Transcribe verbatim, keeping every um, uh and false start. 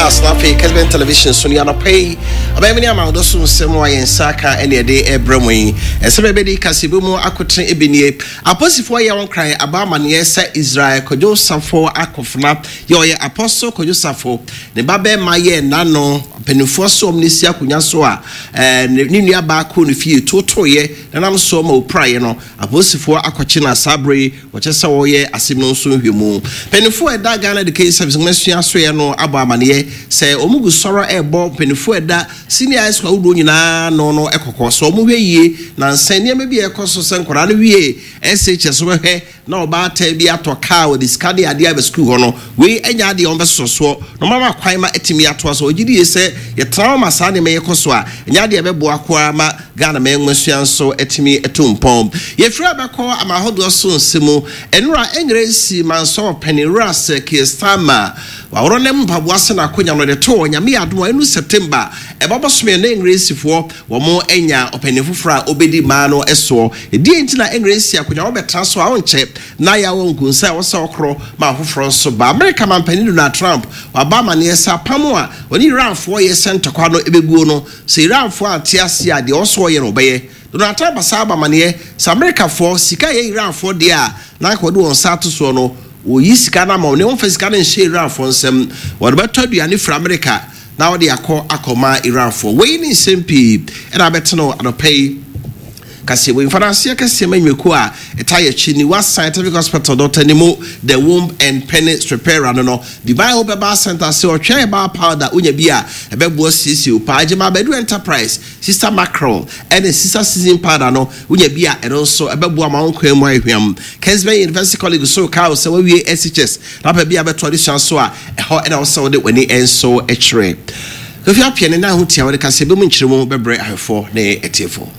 Plus na afei Kesben Television so ne anɔpa yi ɔbɛyɛ ne ama so nsɛm a yɛn nsa ka ɛne ɛde ɛbrɛ mu yi. Ɛsɛm ɛbɛdi kaseɛbɔ mu akotene ebi nie: apolisifoɔ yɛ wɔn kran aba amaneɛ sɛ Israel Kwadwo Safo Akofena yɛ ɔyɛ Apostle Kwadwo Safo ne ba bɛrima yɛ n'ano mpanimfoɔ so ɔmo ne si akonnwa so a ɛɛ ne nua baako ne fie totoeɛ nanam so ma opiraeɛ no, apolisifoɔ akɔkye no. Saa abere yi wɔkyɛ sɛ wɔyɛ asɛm no nso nhwɛmu. Mpanimfoɔ a ɛda Ghana Education Service nwomasua soɛ no abɔ amaneɛ sɛ wɔn gu sɔrɔ ɛrebɔ mpanimfoɔ a ɛda senior high school ahodoɔ nyinaa no no ɛkɔkɔ so wɔn hwɛ yie na nsɛn nneɛma bi a ɛkɔ so sɛ nkwadaa no wie S H S bɛhwɛ na ɔbaatan bi atɔ kaa wɔde sika de adeɛ aba sukuu hɔ no, wei anya adeɛ wɔn bɛsosɔ soɔ na wɔn ama kwan ma ɛtumi atoa so. Ɔgye die sɛ yɛtena wɔn ma saa nneɛma yɛ kɔ so a, ɛnya adeɛ bɛboa koraa ma Ghana mɛnwosua nso ɛtumi ɛto mpɔn. Yɛfiri abɛkɔ ama ahodoɔ so nsɛm. Ɛnora ɛnyerɛ si mansɔ ɔpɛni wura sɛ Keir Starmer waworɔ ne mpaboa sɛ n'akonya no de to Nyame yɛ adom a ɛnu September ɛbɛbɔ some na Engresifoɔ wɔn anya ɔpanin foforɔ a ɔbɛdi maa no soɔ. Ɛdeɛ nti na Engresi akonnwa wɔbɛtena so a ɔnkyɛ na yɛawɔ nkunsa a wɔsɛ ɔkorɔ ma afoforɔ nso ba. Amerika mampanin Donald Trump waba amaneɛ sɛ apam a ɔne Iranfoɔ yɛ sɛ ntɔkwa no ɛbɛguo no, sɛ Iranfoɔ ante ase a, deɛ ɔsɔ ɔyɛ no ɔbɛyɛ. Donald Trump asa aba amaneɛ sɛ Amerikafoɔ sika yɛ Iranfoɔ deɛ a na anka wɔde wɔn nsa ato soɔ no, wɔyi sika no ama wɔn ne wɔmfa sika no nhyɛ Iranfoɔ nsɛm, wɔde bɛtɔ aduane firi Amerika na wɔde akɔ akɔma Iranfoɔ. Wei ne nsɛm pii ɛna abɛtena anɔpa yi kaseɛ wei. Mfanaseɛ kɛseɛ ma nnwako a ɛta yɛ akyi ni wa Scientific Hospital, Doctor Nimo, the womb and penis repairer no no Divine Hope Herbal Center sɛ ɔtwɛn herbal powder wonya bi a ɛbɛboa siesie wo paa. Gyema Abɛdu Enterprise, Sister Mackerel ɛne Sister Season powder no, wonya bi a ɛno nso ɛbɛboa ma wo nkwan mu ayɛ. Kesben University College so kaa sɛ wawie S H S na wapɛ bi a bɛtɔ adesua so a, ɛhɔ ɛna wo sɛ wode w'ani nso kyerɛ. Kofi Apia ne nan ho tia wɔde kaseɛ bɛmu nkyerɛmu bɛbrɛ ahwɛfoɔ ne atiefoɔ.